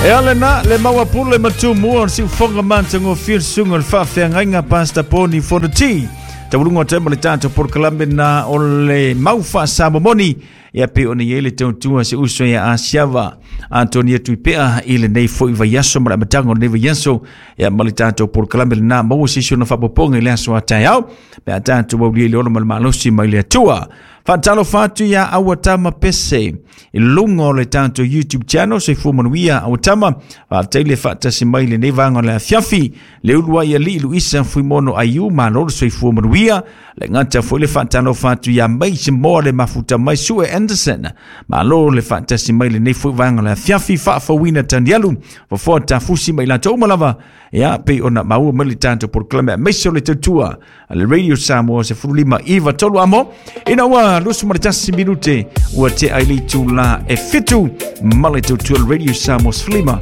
E ale na le maua pule ma tumua o le siufoga matagofie le susuga o le faafeagaiga Pastor Poni Fonoti. Tauluga o tema le tatou polokalame na o le mau faasamomoni ia pe ona i ai le tautua se uso ia Asiava Antonia Tuipea i lenei foi vaiaso ma le amataga o lenei vaiaso ia ma le tatou polokalame lena maua se isi ona faaopoopoga i le aso a taeao pe a tatou aulia i le ola ma le malosi mai le Atua. Faatalofa atu ia Auatama Pese i luga o le tatou YouTube channel, soifua manuia Auatama, faafetai le faatasi mai i lenei vaega o le afiafi. Le uluai alii Luisa Fuimono Aiu, malo le soifua manuia. Le gata foi le faatalofa atu ia Mace Moa le mafuta mai Sue Anderson, malo le faatasi mai i lenei foi vaega o le afiafi. Faafouina Tanialu, Fofoa Tafusi ma i latou uma lava, ia pei ona maua mai le tatou polokalame aemaise o le tautua a le Radio Samoa 15 iva tolu amo ina ua 21 minute ua tea i le itula e 7 ma le tautua le Radio Samoa 15 iva.